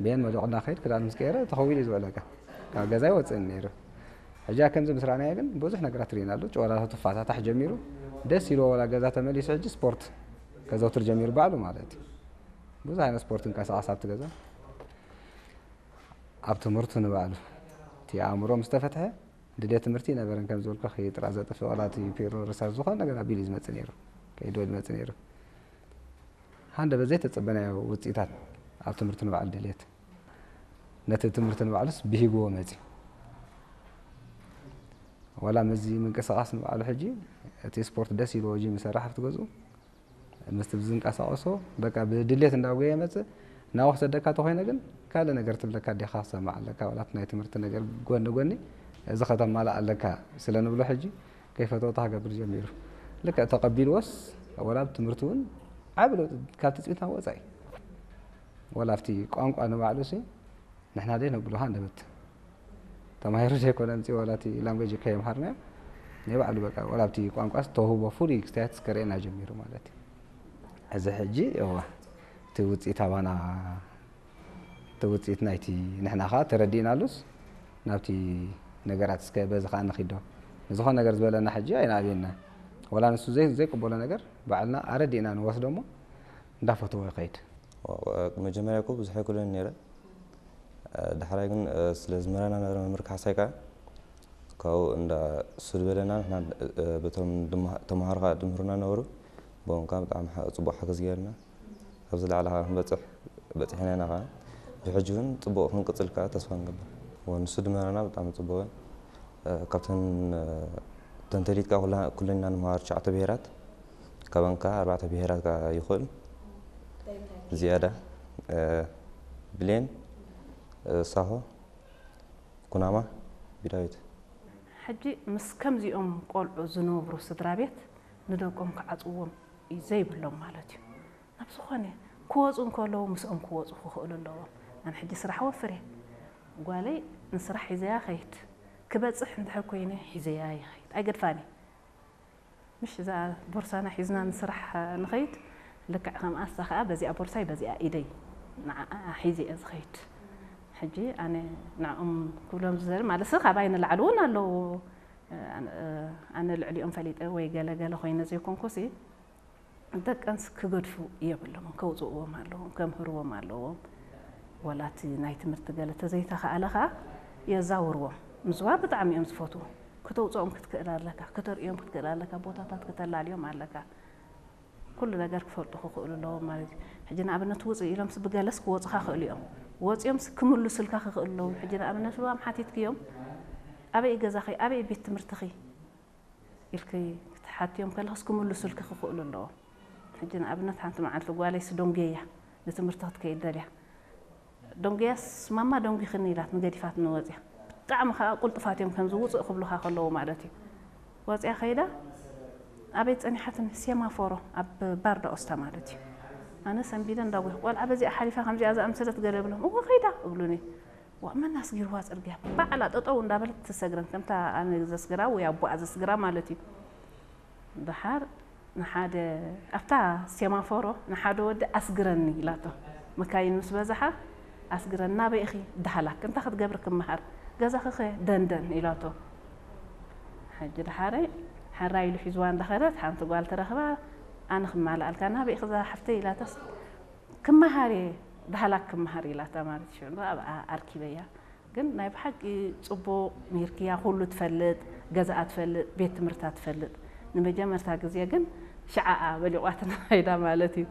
ብየን መሊቑ እንዳኸይድ ክዳን ምስ ቀየረ ተኸዊሉ እዩ ዝውዕለካ። ካብ ገዛ ኣይወፅእን ነይሩ። ሕጂ ከምዚ ምስ ረኣናዮ ግን ብዙሕ ነገራት ርኢናሉ። ጨዋታቱ ፋታታሕ ጀሚሩ። ደስ ኢልዎ ወላ ገዛ ተመሊሱ ሕጂ ስፖርት ከዘውትር ጀሚሩ ባዕሉ ማለት እዩ። ብዙሕ ዓይነት ስፖርት እንቀሳቐስ ኣብቲ ገዛ። ኣብ ትምህርቱ ንባዕሉ እቲ ኣእምሮ ምስ ተፈትሐ ድሌት ትምህርቲ ይነበረን ከም ዝበልኩ ጥራ ዘጥፍእ ወላ እቲ ፒሮ ርሳስ ዝኾነ ነገር ኣቢሉ እዩ ዝመጽእ ነይሩ። ከይዶ ይመጽእ ነይሩ። ሃንደ በዘይ ተጸበናዮ ውጽኢታት ኣብ ትምህርቱ ንባዕሉ ድሌት ነቲ ትምህርቲ ንባዕሉስ ብሂግዎ መጺ። ወላ ምስዚ ምንቅስቓስ ንባዕሉ ሕጂ እቲ ስፖርት ደስ ኢልዎ ጂም ይሰርሕ ኣብቲ ገዝኡ። ምስቲ ብዝንቀሳቐሶ በቃ ብድሌት እንዳጎየ መጽእ። ናብኡ ክሰደካ ተኾይነ ግን ካልእ ነገር ትብለካ ዲኻ ክሰማዕ ኣለካ። ዋላ እቲ ናይ ትምህርቲ ነገር ጎኒ ጎኒ እዚ ከተማልእ ኣለካ ስለ ንብሎ ሕጂ ከይፈተወ ክገብር ጀሚሩ። ልክዕ ተቐቢልዎስ ወላ ኣብ ትምህርቲ እውን ዓቢ ለውጢ ካብቲ ጽቢት ናብ ወጻኢ። ወላ ኣብቲ ቋንቋ ንባዕሉ ሲ ንሕና ደይ ነብሉኻ እንደበት ተማሂሩ ዘይኮነ ምጽእ ዋላ እቲ ላንጉጅ ከየምሃርናዮ ናይ ባዕሉ በቃ ዋላ ኣብቲ ቋንቋስ ተውህቦ ፍሉይ ክስታያት ከርእየና ጀሚሩ ማለት እዩ። እዚ ሕጂ እዋ እቲ ውጽኢት ኣባና እቲ ውጽኢት ናይቲ ንሕና ኸዓ ተረዲእናሉስ ናብቲ ነገራት እስከ በዚ ኸዓ ንኺዶ ንዝኾነ ነገር ዝበለና ሕጂ ኣይንኣብየና። ወላ ንሱ ዘይ ዘይቅበሎ ነገር ባዕልና ኣረዲእና ንወስዶ እሞ እንዳፈተዎ ይኸይድ። መጀመርያ እኮ ብዙሕ ኣይክእሎን ነይረ። ዳሕራይ ግን ስለ ዝምህረና ነበረ መምህር ካሕሳይ ከዓ ካብኡ እንዳ እሱ ዝበለና ንሕና በቶም ተምሃሮ ከዓ ድምህሩና ነበሩ። ብኦም ከዓ ብጣዕሚ ጽቡቕ ሓገዝ ገይርና ካብዚ ላዕሊ ከዓ ክንበፅሕ በፂሕና ኢና ከዓ ብሕጂ እውን ፅቡቕ ክንቅፅል ከዓ ተስፋ ንገብር። ንሱ ድምህረና ብጣዕሚ ፅቡቕ ካብተን ተንተሊትካ ኩልና ንምሃር ትሽዓተ ብሄራት ካባን ከዓ ኣርባዕተ ብሄራት ከዓ ይኽእል ዝያዳ ብሌን ሳሆ ኩናማ ቢዳዊት። ሕጂ ምስ ከምዚኦም ቆልዑ ዝነብሩ ስድራ ቤት ንደቆም ክዓፅዎም ዘይብሎም ማለት እዩ። ናብ ዝኾነ ክወፁ እንከለዉ ምስኦም ክወፁ ክኽእሉ ኣለዎም። ኣነ ሕጂ ስራሕ ወፍር እየ። ጓለይ ንስራሕ ሒዘያ ከይድ ክበፅሕ እንድሕር ኮይነ ሒዘያ ይኸይድ ኣይገድፋን እየ። ምሽ እዛ ቦርሳና ሒዝና ንስራሕ ንኸይድ ልክዕ ከምኣ እሳ ከዓ በዚኣ ቦርሳይ በዚኣ ኢደይ ንዓኣ ሒዘ እየ ዝኸይድ። ሕጂ ኣነ ንዕኦም ክብሎም ዝደሊ ማለትሲ ካባይ ንላዕሊ እውን ኣለዉ። ኣነ ልዕሊኦም ፈሊጠ ወይ ገለ ገለ ኮይነ ዘይኮንኩሲ ደቀንስ ክገድፉ የብሎምን፣ ከውፅእዎም ኣለዎም፣ ከምህርዎም ኣለዎም። ወላ እቲ ናይ ትምህርቲ ገለ ተዘይተኻእለ ከዓ የዛውርዎም። ምዝዋር ብጣዕሚ እዮም ዝፈትዉ። ክተውፅኦም ክትክእል ኣለካ፣ ክተርእዮም ክትክእል ኣለካ፣ ቦታታት ክተላልዮም ኣለካ። ኩሉ ነገር ክፈልጡ ክኽእሉ ኣለዎም ማለት እዩ። ሕጂ ንኣብነት ውፅእ ኢሎምስ ብገለስ ክወፁኻ ክእሉ እዮም። ወፂኦምስ ክምልሱልካ ክኽእሉ ኣለዎም። ሕጂ ንኣብነት ልባም ሓቲትክዮም ኣበይ ገዛኺ፣ ኣበይ ቤት ትምህርትኺ ኢልኪ ክትሓትዮም ከለኽስ ክምልሱልኪ ክኽእሉ ኣለዎም። ሕጂ ንኣብነት ሓንቲ መዓልቲ ጓለይስ ደንጉየያ ንትምህርቲ ክትከይድ ደልያ። ደንጉያስ ማማ ደንጉይኽኒ ኢላትኒ ገዲፋትኒ ወፅያ። ብጣዕሚ ከዓ ቁልጡፋት እዮም ከምዚ ውፅእ ክብሉኻ ከለዉ ማለት እዩ። ወፅያ ከይዳ ኣበይ ፀኒሓትኒ ሴማፎሮ ኣብ ባር ዳኦስታ ማለት እዩ። ኣነ ሰንቢደ እንዳጉህ ቆልዓ በዚኣ ሓሊፋ ከምዚኣ ዝኣምሰለት ገለ ብሎም እወ ከይዳ እብሉኒ። ዋእ መን ኣስጊርዋ ጽርግያ ባዕላ ጠጠው እንዳበለት ትሰግረን ከምታ ኣነ ዘስግራ ወይ ኣቦኣ ዘስግራ ማለት እዩ። ደሓር ንሓደ ኣብታ ሴማፎሮ ንሓደ ወዲ ኣስግረኒ ኢላቶ። መካይን ምስ በዝሓ ኣስግረኒ ናበይ ኢኺ ዳህላክ እንታይ ክትገብሪ ክመሃር ገዛኺ ኸ ደንደን ኢላቶ። ሕጂ ደሓረይ ሓራ ኢሉ ሒዝዋ እንዳኸደት ሓንቲ ጓል ተረኽባ ኣነ ክማልኣልካ ናበይ ኢኺ እዛ ሓፍተይ ኢላታስ ክመሃር እየ ዳህላክ ክመሃር ኢላታ ማለት ሽዑ ኣብኣ ኣርኪበያ። ግን ናይ ብሓቂ ጽቡቕ ምሂርክያ፣ ኩሉ ትፈልጥ፣ ገዛኣ ትፈልጥ፣ ቤት ትምህርታ ትፈልጥ። ንመጀመርታ ግዜ ግን ሽዓኣ በሊቋትና ከይዳ ማለት እዩ።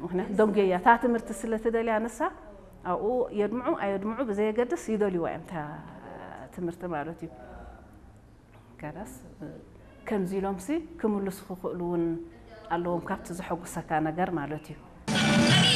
ምክንያቱ ደንጎያ እታ ትምህርቲ ስለ ትደልያ ንሳ ኣብኡ የድምዑ ኣየድምዑ ብዘየገድስ ይደልይዋ እዮም እታ ትምህርቲ ማለት እዩ። ከላስ ከምዚ ኢሎምሲ ክምልሱ ክኽእሉ እውን ኣለዎም ካብቲ ዘሐጉሰካ ነገር ማለት እዩ።